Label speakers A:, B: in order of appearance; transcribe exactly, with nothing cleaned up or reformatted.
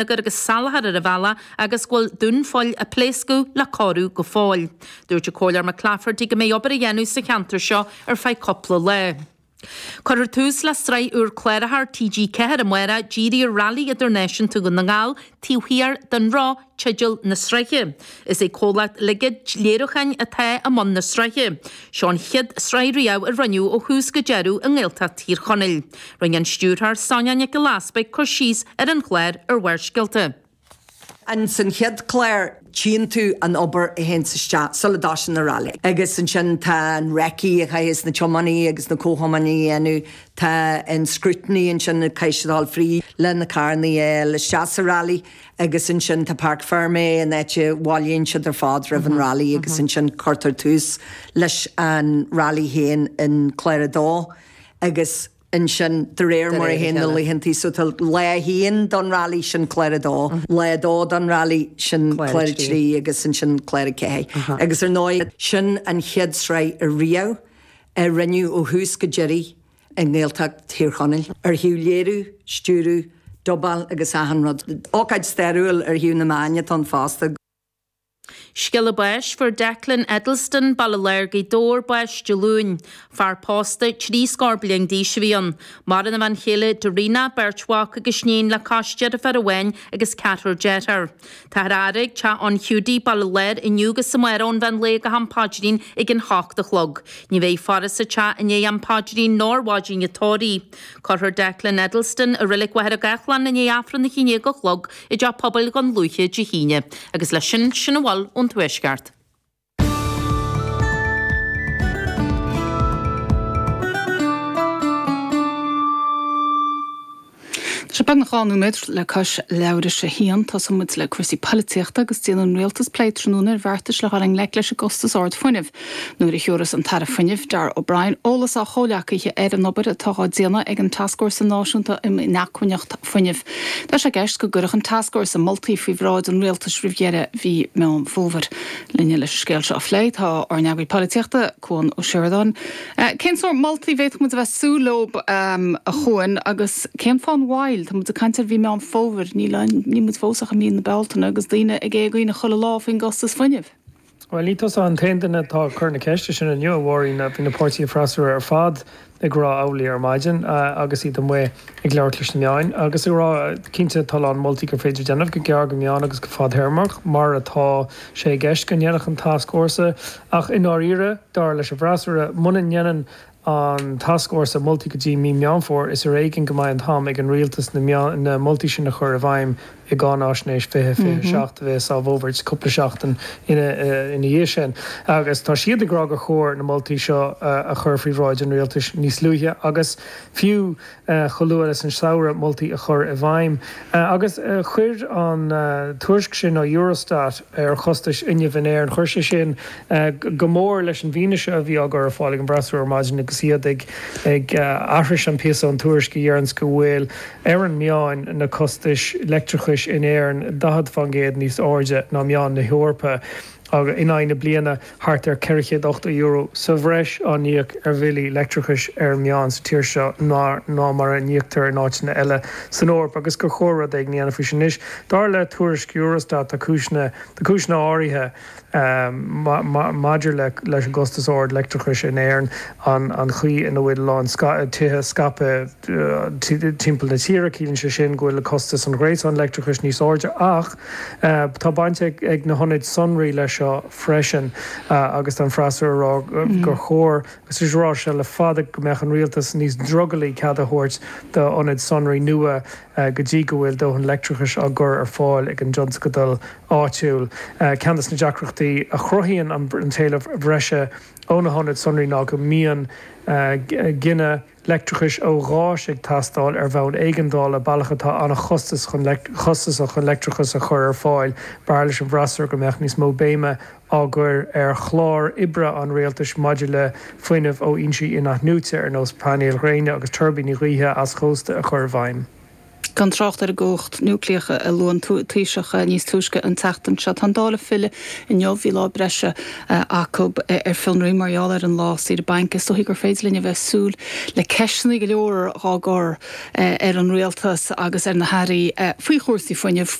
A: agus salachar ar an bhealach agus go bhfuil dúnphoill ag pléascadh le cóiriú go fóill. Dúirt an Comhairleoir McClafferty go mbeidh obair á dhéanamh sa cheantar seo ar feadh cúpla lá. Cuirfear tús le sraith úr cláracha ar TG Ceathair amárach dírithe ar Railí Idirnáisiúnta Dhún na nGall taobh thiar den roth teideal na sraithe. Is é comhlacht Ligead Léiriúcháin atá i mbun na sraithe. Seo an chéad sraith riamh a rinneadh ó thús go deireadh i nGaeltacht Thír Chonaill. Rinne an stiúrthóir Sonia Nic Giolla Easpaig cur síos ar an chlár ar Bharrscéalta.
B: An san chéad chlár tchíonn tú an obair a théann isteach sula dtosaíonn an rally. Agus ansin tá an recce a chaithfidh na tiománaithe agus na comhthiománaithe a dhéanamh tá an scrutiny ansin caithfidh siad dul fríd le na carranna isteach sa rally agus ansin tá Parc Fermé an áit a bhailíonn siad ar fad roimh an rally agus ansin cuirtear tús leis an rally féin in clár a dó agus ansin de réir mar a théann na laethantaí so tá lá a haon don rally sin clár a dó, lá dó don rally sin clár a trí agus ansin clár a ceathair. Agus ar ndóigh sin an chéad sraith riamh a rinneadh ó thús go deireadh i nGaeltacht Thír Chonaill. Ar thaobh léiriú, stiúradh, dubáil agus achan rud. Ócáid stairiúil ar thaobh na meán atá ann fosta.
A: Scéala báis fuair Declan Eddleston Baile Láir Gaoth Dobhair bás Dé Luain. Fear pósta trí scór bliain d'aois a bhí ann. Maireann a bhean chéile Darina beirt mhac agus iníon le cois deirfiúr amháin agus ceathrar dearthár. Táthar á fhaire ag teach an Hiúdaí Baile Láir inniu agus amárach ón mheán lae go ham paidrín ag an hocht a chlog. Ní bheidh faire sa teach i ndiaidh am paidrín ná ar mhaidin an tórraimh. Cuirfear Declan Eddleston i Reilig Mhachaire Gathlán i ndiaidh Aifreann a haon déag a chlog i dteach pobail Dhún Lúiche Dé hAoine, agus leis sin sin a bhfuil ón Tuaisceart.
C: Tá sé beagnach dhá nóiméad le cois leathuair tar éis a haon tosóidh muid le cúrsaí polaitíochta agus déanann an rialtas plé tráthnóna ar bheartais le dhul i ngleic leis an gcostas ard fuinnimh. Nuair a thiúras an tAire Fuinnimh Darragh O'Brien eolas dá chomhghleacaithe ar an obair atá á déanamh ag an Tascfhórsa Náisiúnta um Inacmhainneacht Fuinnimh. Tá sé i gceist go gcuirfeadh an Tascfhórsa moltaí faoi bhráid an rialtais roimh dheireadh mhí Meán Fómhair. Linne leis an scéal seo a phlé tá ár n-eagraí polaitíochta Cuan Ó Seireadáin. Cén sórt moltaí a bhféadfadh muid a bheith súil leo a Chuain agus cén fáth an mhoill Tá muid ag caint ar mhí Meán Fómhair ní níl muid fós ach i mí na Bealtaine agus daoine ag éagaoineadh chuile lá faoin gcostas fuinnimh.
D: Well ní tusa an t-aon duine atá ag cur na ceiste sin inniu a Mháirín bhí na páirtithe freasúra ar fad ag rá amhlaidh ar maidin agus iad amuigh ag labhairt leis na meáin agus ag rá cinnte tá a lán moltaí gur féidir déanamh go gearr go meán agus go fadtéarmach mar atá sé i gceist go ndéanfadh an tascfhórsa ach i ndáiríre dar leis an bhfreasúra muna ndéanann an tascfhórsa moltaí go dtí mí Meán Fómhair is ar éigean go mbeidh an t-am ag an rialtas na na moltaí sin a chur i bhfeidhm i gcáinaisnéis fiche fiche seacht a bheas á bhfógairt cúpla seachtain ina ina dhiaidh sin. Agus tá siad ag rá gur chóir na moltaí seo a chur faoi bhráid an rialtais níos luaithe agus fiú chomh luath leis an samhradh moltaí a chur i bhfeidhm. Agus chuir an tuairisc sin ó Eurostat ar chostais fhuinnimh in Éirinn, chuir sé sin go mór leis an bhfianaise a bhí á gcur ar fáil ag an bhfreasúra ar maidin agus iad ag ag aithris an píosa ón tuairisc a deireanns go bhfuil ar an meán na costais leictreachais in Éirinn daichead faoin gcéad níos airde ná meán na hEorpa in aghaidh na bliana thart ar ceithre chéad ochtó euro sa bhreis á n-íoc ar bhillí leictreachais ar an meán sa tír seo ná ná mar a n-íoctar in áiteanna eile san Eoraip agus gur chóir rud éigin a dhéanamh faoi sin. Anois, dar le tuairisc Eurostat tá cúiseanna tá cúiseanna áirithe maidir le leis an gcostas ard leictreachais in Éirinn, an an chaoi ina bhfuil a lán tithe scaipthe timpeall na tíre, ciallaíonn sé sin go bhfuil costas an ghréasáin leictreachais níos airde ach tá baint ag na hionaid sonraí leis seo freisin agus tá an freasúra ag rá gur chóir agus is rá sé le fada go mbeadh an rialtas níos drogalaí cead a thabhairt d'ionaid sonraí nua go dtí go bhfuil dóthain leictreachais á gcur ar fáil ag an dtionscadal áitiúil. Ceann de na deacrachtaí a chruthaíonn an t-éileamh breise ó na hionaid sonraí ná go mbíonn gineadh leictreachais ó ghás ag teastáil ar bhonn éigeandála, bealach atá an-chostas chun chostasach chun leictreachas a chur ar fáil. B'fhearr leis an bhfreasúra go mbeadh níos mó béime á gcur ar chlár oibre an rialtais maidir le fuinneamh ó fhoinsí in-athnuaite ar nós painéil ghréine agus tuirbíní gaoithe eischósta a chur i bhfeidhm.
C: Gan trácht ar an gcumhacht núicléach a luaigh an Taoiseach níos túisce an tseachtain seo. Tá an Dáil ag filleadh inniu bhí lá breise acu ar fionraí mar gheall ar an lá saoire bainc. Is dóigh gur féidir linn a bheith ag súil le ceisteanna go leor á gcur ar an rialtas agus ar na hairí faoi chúrsaí fuinnimh.